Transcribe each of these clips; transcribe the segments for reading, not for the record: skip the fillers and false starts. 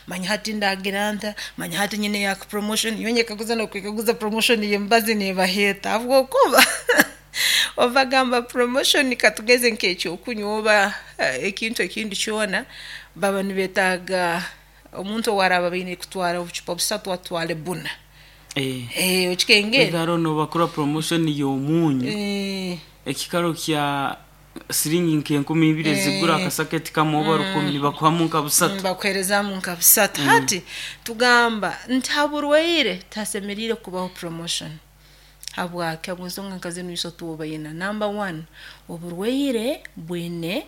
Manya hati ndagira nta, manya hati nyine ya promotion. Nyowe nyekaguza n'okwekaguza, promotion y'emibazi neebaheeta? Habwokuba obu bagamba promotion, katugeze nk'ekyokunywa oba ekintu ekindi kyona, baba nibeetaaga omuntu owaraaba baine kutwara obucupa busatu atwale buna. Okikengere. Haro nobakora promotion y'omunyu, ekikaro kya siringi nk'enkumu 2 ezigura akasaketi kamwe oba 1000, nibakuhamu nka busatu. Bakuheerezamu nka busatu. Hati tugamba nti ha burwaire tihasemeriire kubaho promotion. Habwaki? Habw'ensonga nka zinu isatu oba ina. Number one, oburwaire bwine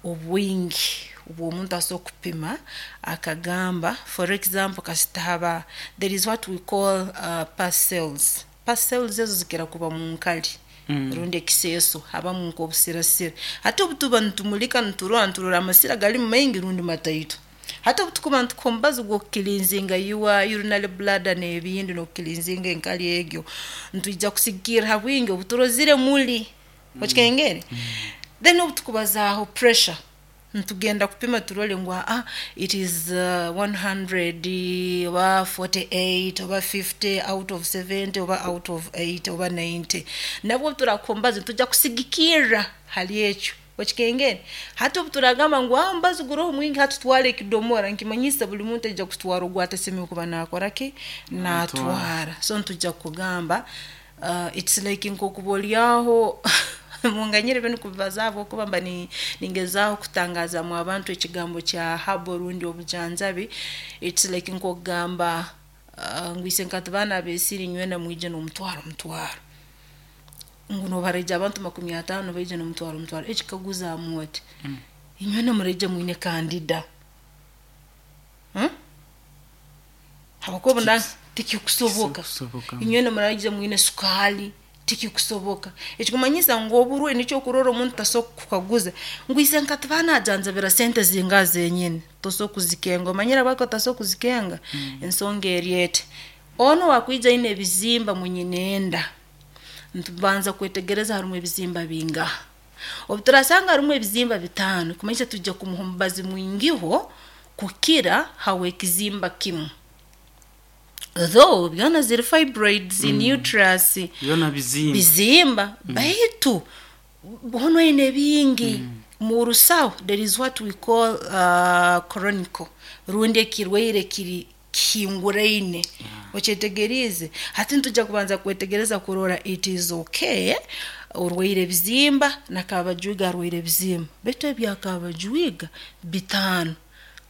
obwingi obw'omuntu asobola kupima akagamba. For example, kasita haba there is what we call pus cells. Pus cells ezo zikira kuba mu nkali rundi ekiseeso, habamu nk'obusirasira. Hati obu tuba nitumulika, niturora amasira galimu maingi rundi mataito. Hati obu tukuba nitukuha omubazi gw'okucleansinga your urinary bladder n'ebindi, n'okucleansinga enkali egyo, nitwija kusigikirra ha bwingi obu turozire muli. Okikengere? Then obu tukubazaaho pressure, nitugenda kupima turole ngu it is 100 oba 48 oba 50 out of 70 oba out of 80 oba 90. Nabwo obu turakuha omubazi, nitujja kusigikirra hali ekyo. Okikengere? Hati obu turagamba ngu omubazi guroho mwingi, hati tutwale ekidomora, nkimanyisa buli muntu aija kutwara ogu atasemeriire kuba naakora ki? Naatwara. So nitujja kugamba it's like nk'okuba oli aho, munganyire binu kubibazaaho habwokuba mba ningezaaho kutangazaamu abantu ekigambo kya herbal rundi obujanjabi. It's like nk'okugamba ngu isenkati baana ab'esiri, inywena mwije n'omutwaro mutwaro, ngu nobu haraija abantu 50 baije n'omutwaro mutwaro, ekikaguzaamu oti, inywena muraija mwine candida, Habwokuba tikikusoboka. Inywena muraija mwine sukaali, tikikusoboka. Ekikumanyisa ngu oburwaire, nikyo okurora omuntu tasobola kukukaguza ngu isenkati banajanjabira sente zingaha zenyini, tosobola kuzikenga. Omanyire habwaki otasobola kuzikenga? Ensonga eri eti: onu owakwija aine ebizimba munyinenda, nitubanza kwetegereza harumu ebizimba bingaha. Obu turasanga harumu ebizimba bitaano, kumanyisa tujja kumuha omubazi mwingiho kukira haw'ekizimba kimu, though byona ziri fibroids in uterus. Byona bizimba. Bizimba, baitu hono aine bingi. Mu rusaho there is what we call chronical rundi ekirwaire kiri kihinguraine. Okyetegeriize? Hati nitujja kubanza kwetegereza kurora it is okay, orwaire ebizimba, na Kabajwiga arwaire ebizimba, baitu ebya Kabajwiga bitaano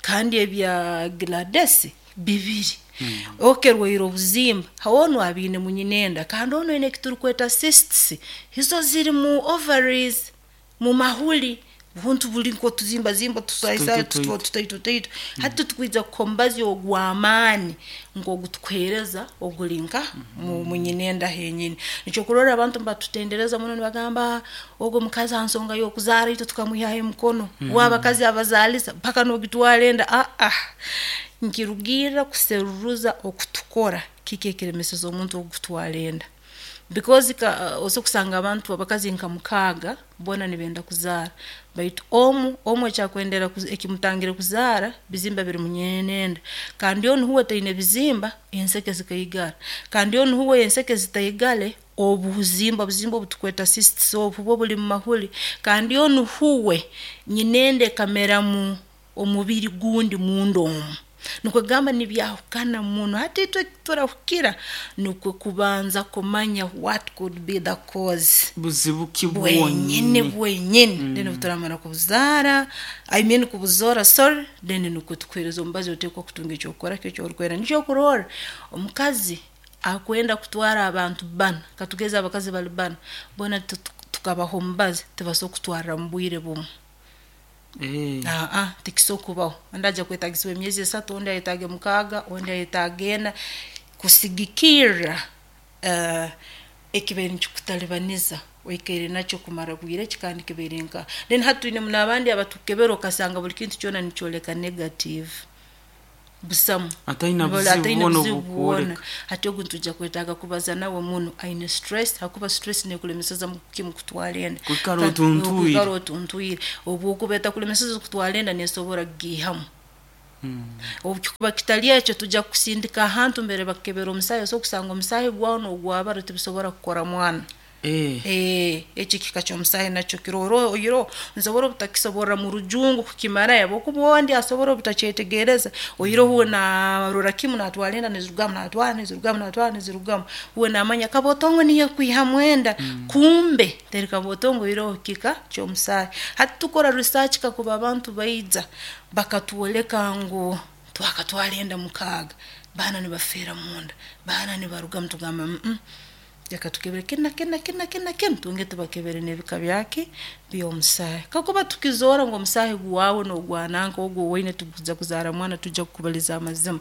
kandi ebya Gladys bibiri. Okay, rwaire obuzimba, onu abiine munyinenda, kandi onu aine ekiturukweta cysts, izo ziri mu ovaries, mu mahuli, buntu buli nk'otuzimbazimba tutaito taito. Hati tukwija kukuha omubazi ogw'amaani nk'ogu tukuheereza oguli nka munyinenda henyini. Nikyo kurora abantu nibatutendereza muno, nibagamba ogu omukazi ha nsonga y'okuzaara itwe tukamwihaho emikono, we abakazi abazaalisa mpaka n'ogitwara enda. Nkirugirra kuseruruza okutukora kiki ekiremeseza omuntu ogu kutwara enda, because osobola kusanga abantu, abakazi nka mukaaga, boona nibenda kuzaara, baitu omu omu ekyakwendera ekimutangire kuzaara bizimba biri munyenenda, kandi onu huwe taine bizimba, enseke zikaigara, kandi onu huwe enseke zitaigale, obuzimba buzimba obutukweta cysts obu bwo buli mumahuli, kandi onu huwe nyinenda ekameramu omubiri gundi munda omu. Nukwo kugamba nibyahukana muno. Hati itwe turahukira nukwo kubanza kumanya what could be the cause. Buzibu ki bwenyini? Bwonyini. Bwenyini. Then obu turamara kubuzaara, I mean kubuzoora, sorry, then nukwo tukuheereza omubazi, oteekwa kutunga ekyokukora ki ekyorukwenda. Nikyo okurorra omukazi akwenda kutwara abantu bana, katugeze abakazi bali bana, boona tukabaha omubazi, tibasobola kutwarra mu bwire bumu. Tikisobola kubaho. Ondi aja kwetagisibwa emyezi 3, ondi ayetaage 6, ondi ayetaage 4, kusigikirra ekibaire nikikutalibaniza oikaire nakyo kumara bwire ki kandi kibaire nkaha. Then hati twinemu n'abandi abatukukebera, okasanga buli kintu kyona nikyoleka negative, busamu. Ataina buzibu ataine bwona buzibu bwona. Obukwoleka. Hati ogu nitujja kwetaaga kubaza nawe muno, aine stress, hakuba stress nekulemeseza kimu kutwara enda. Kwikara otuntwire. Kwikara otuntwire. Obu okuba etakulemeseza kutwara enda, nesobora kugiihamu. Obu kikuba kitali ekyo, tujja kukusindika ahantu mbere bakukebera omusaahi, osobola kusanga omusaahi gwawe n'ogwabara tibisobora kukora mwana. Eki kika ky'omusaahi nakyo kiroro oiroho, nsobora obutakisoborra mu rujungu kukimarayo habwokuba ondi asobora obutakyetegereza. Oihireho uwe naarora kimu naatwara enda nizirugamu, naatwara nizirugamu, naatwara nizirugamu, uwe naamanya kabotongo niyo ekwihamu enda, kumbe teri kabotongo oihireho kika ky'omusaahi. Hati tukora research kakuba abantu baija bakatwoleka ngu twakatwara enda 6, baana nibafeera munda, baana nibarugamu, tugamba leka tukebere kinu na kinu na kinu na kinu na kinu, twongere tubakebere n'ebika byaki by'omusaahi. Kakuba tukizoora ngu omusaahi gwawe n'ogwa nanka ogu owaine tigukuza kuzaara mwana, tujja kukubaliza amazima.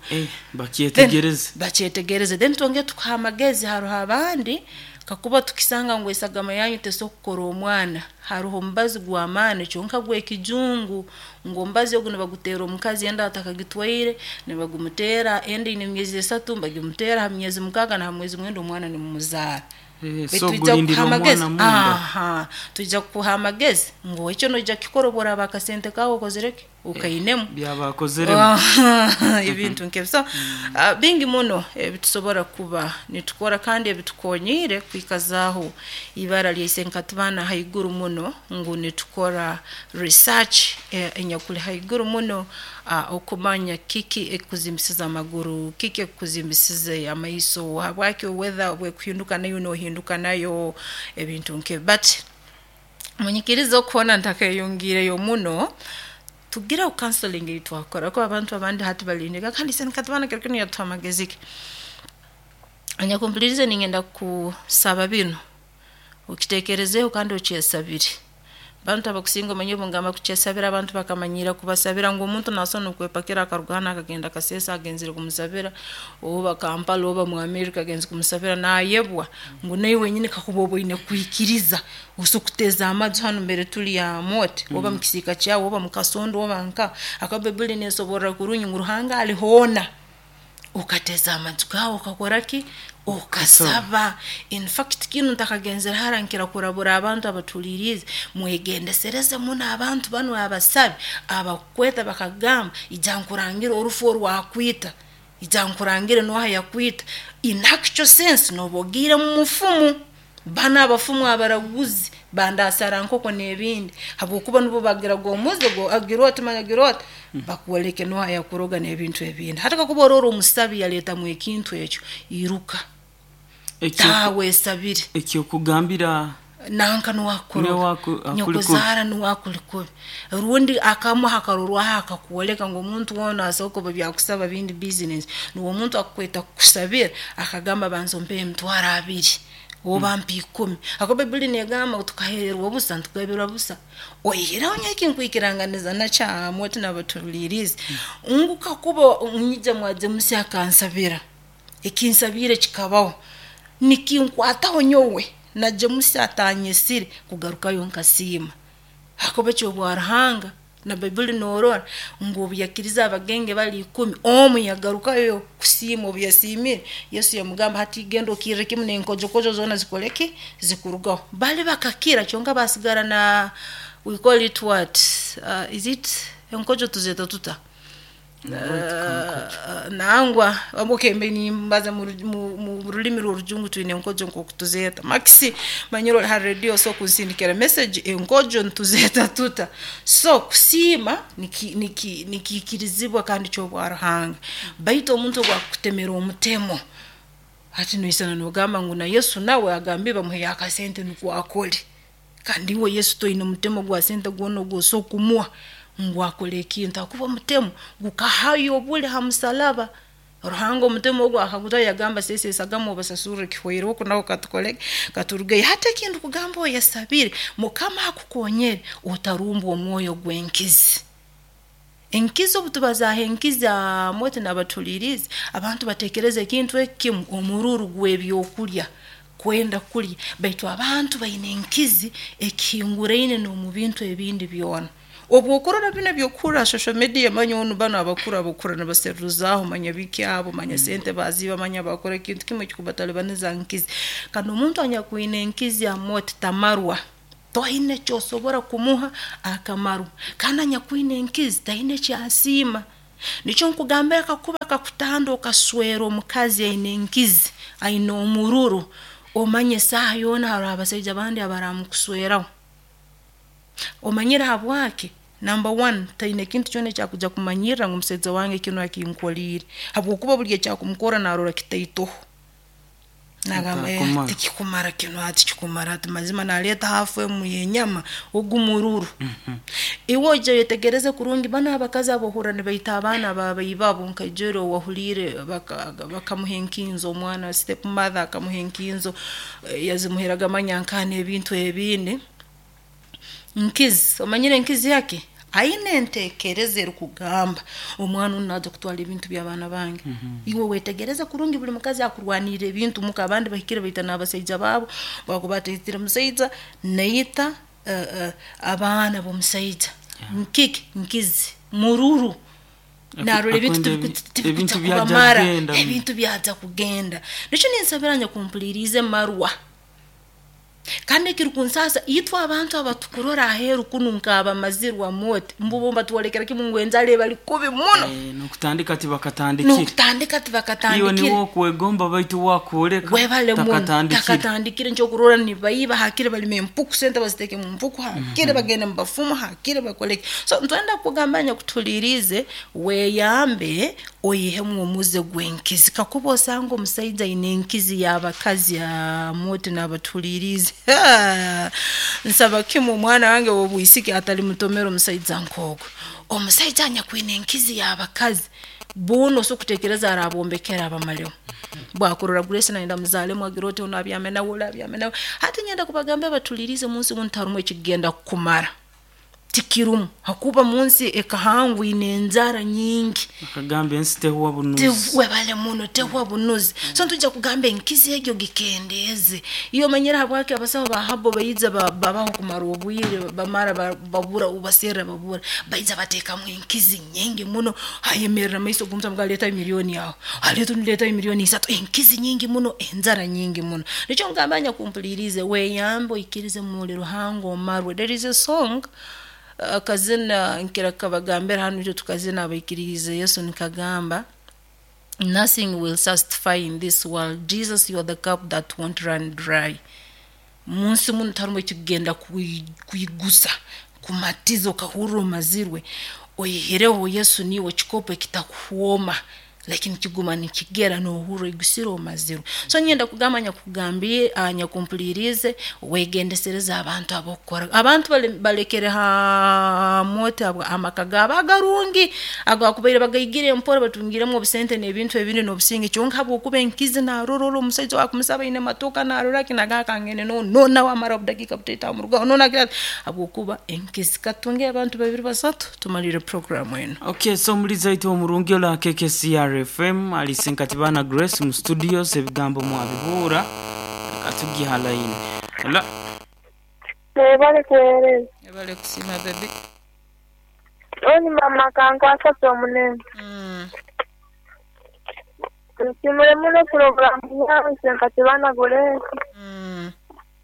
Bakyetegereze. Bakyetegereze, then twongere tukuha amagezi. Haroho abandi kakuba tukisanga ngu esagama yanyu tesobora kukora omwana, haroho omubazi gw'amaani kyonka gw'ekijungu, ngu omubazi ogu nibaguteera omukazi enda atakagitwaire, nibagumuteera enda eine emyezi 3, nibagimuteera ha myezi 6 na ha mwezi 9 omwana nimumuzaara. So gulindira kuha amagezi. Omwana munda. Aha, twija kukuha amagezi ngu ekyo noija kukikora obu oraaba akasente kaawe okozire ki, okainemu. Byabakozeremu. Ebintu nk'ebyo. So bingi muno ebitusobora kuba nitukora kandi ebitukonyiire kwikazaaho ibara lya Isenkatibana haiguru muno, ngu nitukora research enyakuli haiguru muno, okumanya kiki ekikuzimbisiza amaguru, kiki ekikuzimbisize amaiso, habwaki weather bwekuhinduka naiwe nohinduka nayo, ebintu nk'ebi. But munyikirize okuhoona ntakeyongiireyo muno, tugireho counseling ei twakora, kuba abantu abandi hati balindika kandi Isenkatibana kiro kinu yatuha amagezi ki. Anyakumpulirize, ningenda kusaba binu okitekerezeeho kandi okyesabire. Abantu abakusinga omanyire obungamba kukyesabira, abantu bakamanyira kubasabira ngu omuntu nasobora n'okwepakira akaruga hanu akagenda Kasese agenzere kumusabira, oba Kampala oba mu America agenze kumusabira, naayebwa ngu naiwe wenyini kakuba oba oine kwikiriza, osobola kuteeza amaju hanu mbere tuli Amooti, oba mu kisiika kyawe, oba mu kasondo, oba nka akaba Baibuli neesoborra kurungi ngu Ruhanga ali hoona. Okateeza amaju gaawe, okakora ki, okasaba. In fact kinu ntakagenzere hara, nkira kurabura abantu abatuhuliriize, mwegendesereze muno abantu banu abasabi abakukweta bakagamba, ija nkurangire orufu orwakwita, ija nkurangire nooha yakwita. In actual sense nooba ogiire mu mufumu. Banu abafumu abaraguzi bandasara nkoko n'ebindi, habwokuba nubo bagiraga omuze agira oti manya agira oti bakwoleke nooha yakuroga n'ebintu ebindi. Hati kakuba orora omusabi yaleetamu ekintu ekyo, iruka, taaha wesabire. Ekyokugambira nanka nuwakukuroga, nyokuzaara nuwe akuli kubi, rundi akamuha akarorwaho akakwoleka ngu omuntu woona asobola kuba byakusaba bindi business. Nuwe omuntu akukweta kukusabira akagamba, banza ompe 20,000 oba mpa 10, habwokuba Baibuli negamba ngu tukaheerwa busa ntukabirwa busa. Oihireho nyowe ekinkwikiranganiza nakyo Amooti n'abatuhuliriize, ngu kakuba nyija mwa James akansabira, ekinsabiire kikabaho, nikinkwataho nyowe na James atanyesire kugarukayo nkasiima, hakuba ky'obwa Ruhanga. Na Baibuli noorora ngu obu yakirize abagenge bali 10, omu yagarukayo kusiima. Obu yasiimire, Yesu yamugamba, hati genda okirre kimu n'enkojokojo zoona zikole ki, zikurugaho. Bali bakakira, kyonka basigara na, we call it what, is it enkojo tuzeeta tuta? Nangwa okay, mbe nimbaza mu rulimi rw'orujungu, twine enkojo nk'oku tuzeeta. Maxi, manyire ori ha radio, osobola kunsindikira message, enkojo nituzeeta tuta? So kusiima nikiikirizibwa kandi ky'obwa Ruhanga, baitu omuntu obu akukutemera omutemo, hati noisana nogamba ngu na Yesu nawe agambire bamuheyo akasente nukwo akole, kandi iwe Yesu toine mutemo gwa sente gwona ogwosobola kumuha ngu akole ekintu, hakuba omutemo gukahayo obuli ha musalaba. Ruhanga omutemo ogu akagutaho, yagamba, seesa esagama obasasurre, kihweireho oku naho katukole katurugeyo. Hati ekintu kugamba oyesabire, Mukama akukonyere otarumbwa omwoyo gw'enkizi. Enkizi, obu tubazaaho enkizi Amooti n'abatuhuliriize, abantu batekereza ekintu ekimu, omururu gw'ebyokulya, kwenda kulya, baitu abantu baine enkizi ekihinguraine n'omu bintu ebindi byona. Obu okurora binu ebyokuhurra social media, manya onu banu abakuru abakura nibaseruzaaho, manya biki abo, manya sente baziiba, manya bakora ekintu kimu ekikubatalibaniza, nkizi. Kandi omuntu anyakwine enkizi Amooti tamarwa, toine ekyosobora kumuha akamarwa, kandi anyakwine enkizi taine ekyasiima. Nikyo nkugambira kakuba kakutanda okaswera omukazi aine enkizi, aine omururu, omanye esaaha yoona haroho abasaija abandi abaramukusweraho. Omanyire habwaki? Number one, taine kintu kyona ekyakuja kumanyirra ngu omusaija wange kinu akinkoliire, habwokuba buli ekyakumukora narora kitaitoho. Nagamba Atakumara. Tikikumara kinu hati kikumara hati mazima naleeta hafu emu y'enyama ogu mururu. Iwe oija oyetegereze kurungi banu abakazi abohurra nibaita abaana babaibabo nkaijwire owahuliire bakamuha enkinzo omwana step mother akamuha enkinzo, yazimuheraga manya nkaha n'ebintu ebindi. Nkizi, omanyire enkizi yake? Aine entekereza erukugamba omwana onu naija kutwara ebintu by'abaana bange. Iwe wetegereze kurungi buli mukazi akurwanirra ebintu muka, abandi bahikire baita n'abasaija baabo, bwakuba ataitire musaija naita abaana b'omusaija. Nkiki? Nkizi, mururu. Narora ebintu Akwenda tibikuja ebintu byaja kubamara, kugenda. Ebintu byaja kugenda. Nikyo ninsabira nyakumpuliriize marwa. Kandi ekirukunsaasa itwe abantu abatukurora aheeru kunu nk'abamazirwa mooti, mbubo mbatwolekera kimu ngu enjara ebali kubi muno. N'okutandika tibakatandikire. N'okutandika Iwe tibakatandikire. niwe okwegomba baitu wakwoleka Webale muno takatandikire. Takatandikire nkyokurora nibaiba hakire balima empuku sente baziteeke mu mpuku hakire bagende mu bafumu hakire bakoleke. So ntwenda kugamba nyakutuhuliiriize weeyambe oihemu omuze gw'enkizi. Kakuba osanga omusaija aine enkizi y'abakazi mooti n'abatuhuliiriize nsaba kimu omwana wange ow'obwisiki atalimutomera omusaija nk'ogwo. Omusaija anyakwine enkizi y'abakazi boona osobola kuteekereza arabombekera abamaleho. Bwakurora Grace nayenda muzaalemu agira oti onu abyame nawe oli abyame nawe. Hati nyenda kubagambira batuhuliiriize munsi munu tiharumu ekikugenda kukumara. Tikirumu hakuba munsi ekahangwa ine enjara nyingi. Akagamba ensi tehuwa bunuzi. Webale muno tehwa bunuzi. So ntujja kugamba enkizi egyo gikendeeze. Iyo omanyire habwaki abasaho ba habo baija babaho kumara obwire bamara babura ubaserra babura. Baija bateekamu enkizi nyingi muno hayemerra maiso g'omuntu amugamba leetayo milioni aho. Aleeta ondi leetayo milioni isatu. Enkizi nyingi muno, enjara nyingi muno. Nikyo ngamba nyakumpuliriize weeyambe oikirize muli Ruhanga omarwe. There is a song akazina nkira kabagambira hanu itwe tukazina abaikiriize Yesu nikagamba nothing will satisfy in this world. Jesus, you are the cup that won't run dry. Munsi muno tarumu ekikugenda kwigusa kumatiza okahurra omazirwe oihireho Yesu niiwe kikopo ekitakuhwoma lakini kiguma nikigera nohurra oigusire omazirwe. So nyenda kugamba nyakugambiire nyakumpuliriize wegendesereze abantu abokukora. Abantu balekere ha mooti amaka gaabo agarungi agakubaire bagaigire empora batungiremu obusente n'ebintu ebindi n'obusinge kyonka habwokuba enkizi narora ori omusaija wakumusaba aine matoka narora ki nagamba kangende no nawe amara obudakiika butaito amurugaho no nagira ati habwokuba enkizi. Katunge abantu babiri basatu tumalire programu eno. Okay, so muliza itwe omurungi ola KKCR FM alisenkatibana Grace mu studios ebigambo mwabihura katugiha line. Hello. Webale kuweereza. Webale kusima baby. Oni mama kankwasa omunene. Nsimule muno puroguramu yawe Senkatibana Grace.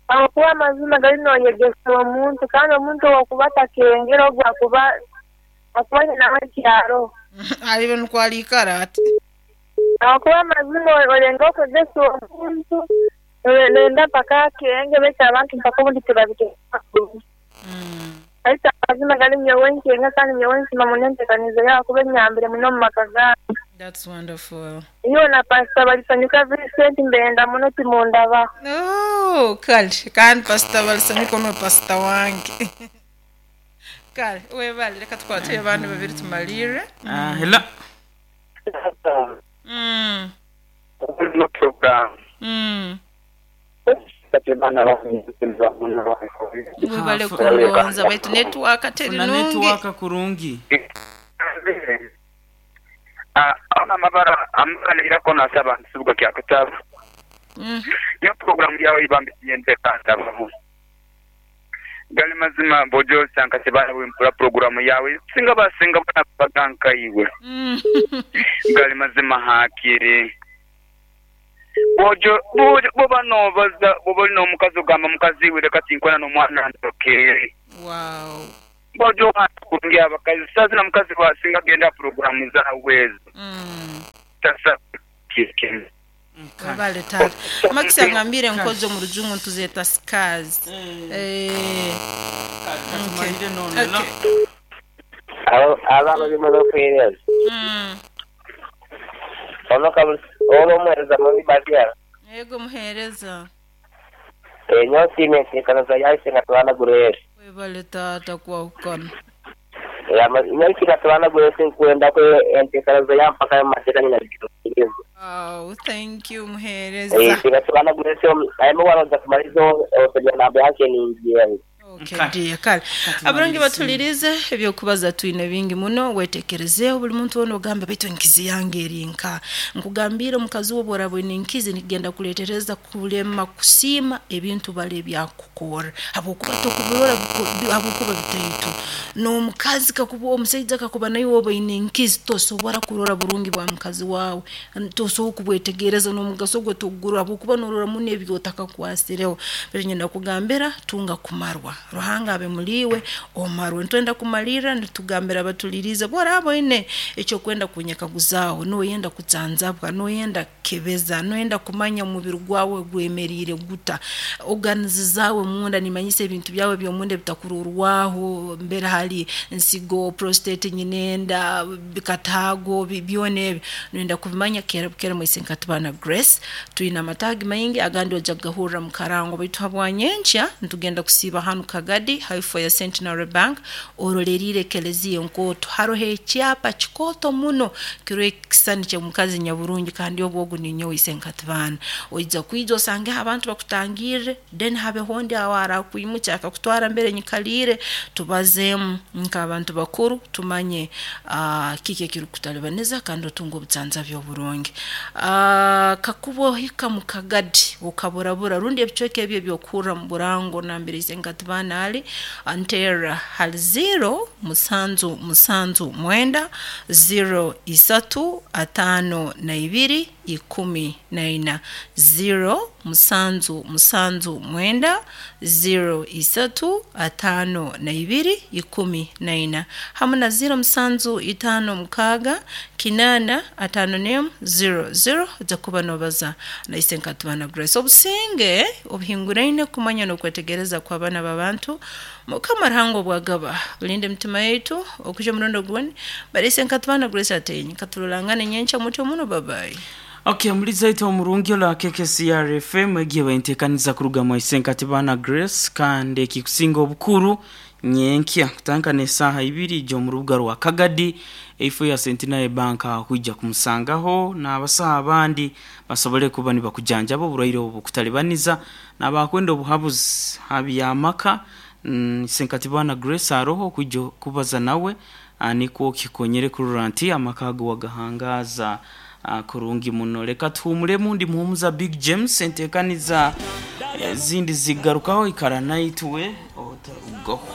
Ahakuba amazima gari noyegesa omuntu kandi omuntu owokuba atakengera ogwo akuba akuba nawe ekyaro. Alibe nukwo aliikara ati. Ahakuba amazima orenga okwegesa omuntu nenda mpaka akenge baitu abantu mpaka obundi tibabiteeka. Baitu amazima gari nyowe nkenga kandi nyowe nsima muno enteekanizo yawe kuba enyambire muno omu maka gange. That's wonderful. Iyo na Pastor Balisanyuka Vincent mbenda muno timundabaho. Oh, kale kandi Pastor Balisanyuka niwe pastor wange. Kale webale reka tukwate abantu babiri tumalire. Hello. No program. Webale kungonza baitu network teri Funa nungi. network kurungi. Ona amabara amaganirako nasaba nsibuga kya kutaba. Yo program yawe ibambisiye ntekantaba. Gali mazima bojo Senkatibana wempura programu yawe singa basinga bana baganka iwe. Gali mazima hakiri. Bojo bojo boba nobaza boba n'omukazi ogamba mukazi we reka tinkwana n'omwana ndokere. Wow. Mbojo kurungi abakazi sazi na mukazi wasinga genda programu zawe ezo. Tasa kikini. Webale tata. Max agambire enkozi omu rujungu ntuzeta scars. Katumalire nono no. Aba abazima b'okuheereza ono omuheereza muri babyara Yego muhereza. Enyo siime ensinkano yahise nga tubana gurere Webale tata kwahukana. Nyo tubana gurere nkwenda ko entekano yampaka y'amateka nyina zikiriza. Oh, thank you muhereza. Singa tubana gurere ayemo waronza kumalizo otojya namba yake ningiye. Okay, dear, kale abarangi batulirize ebyokubaza twine bingi muno wetekerezeho buli muntu wona ogamba baitu enkizi yange eri nka nkugambire omukazi wo bworaba oine enkizi nikigenda kuletereza kulema kusiima ebintu bali ebyakukora habwokuba tokubirora habwokuba bitaitu n'omukazi kakuba omusaija kakuba naye woba oine enkizi tosobora kurora burungi bwa mukazi wawe tosobola kubwetegereza n'omugaso gwe togurora habwokuba norora muno ebyotakakwasireho baitu nyenda kugambira tunga kumarwa Ruhanga abe muliwe omarwe ntwenda kumalira nitugambira abatulirize bworaba oine ekyokwenda kunyekaguzaaho noyenda kutsanzabwa noyenda kebeza noyenda kumanya omubiri gwawe gwemerire guta oganizi zawe munda nimanyisa ebintu byawe byomunda ebitakururwaho mbere hali nsigo prostate nyinenda bikatago byona ebyo noyenda kubimanya kera bukera mwise nkatubana Grace twine amatagi maingi agandi ojja kugahurra mu karango baitu habwanyenkya ntugenda kusiiba hanu Kagadi haifo ya Centenary Bank orolerire ekelezia enkoto haroho ekyapa kikooto muno kiriho ekisani ky'omukazi nyaburungi kandi obwo ogu ninyowe ise nkatubana oija kwija osangeho abantu bakutangirre then habeho ondi awo arakwimukya akakutwara mbere nyikaliire tubazeemu nk'abantu bakuru tumanye kiki ekirikutalibaniza kandi otunga obutsanzabi oburungi. Kakuba ohika mu Kagadi okaburabura rundi ebicweka ebyo ebyokuhurra mu burango nambere ise nkatubana ali antera hali 0 7 7 9 0 3 5 2 14 0 7 7 9 0 3 5 2 14 hamwe na 0 7 5 6 8 5 0 0 ojja kuba nobaza naise nkatubana Grace obusinge obuhinguraine kumanya n'okwetegereza kw'abaana b'abantu Mukama Ruhanga obwagaba bulinde emitima yaitu okuja omurundi ogundi barese nkatubana Grace atenyi katurorangane nyenkya muto muno babayi. Okay, muliza ito omurungi ola KKCR FM egiye baintekaniza kuruga mu Isenkatibana Grace kandi ekikusinga obukuru nyenkya kutandika n'esaaha ibiri ijya mu rubuga rwa Kagadi eifo ya Centenary Bank kwijja kumusangaho n'abasaha abandi basobole kuba nibakujanjaba oburwaire obu kutalibaniza n'abakwenda obuhabuzi habyamaka. Isenkatibana Grace aroho kwijja kubaza nawe nikwo kikonyere kurora nti amaka ago wagahangaza kurungi muno. Reka tuhumuremu ndi muhumuza Big James entekaniza zindi zigarukaho ikara naitwe otarugaho.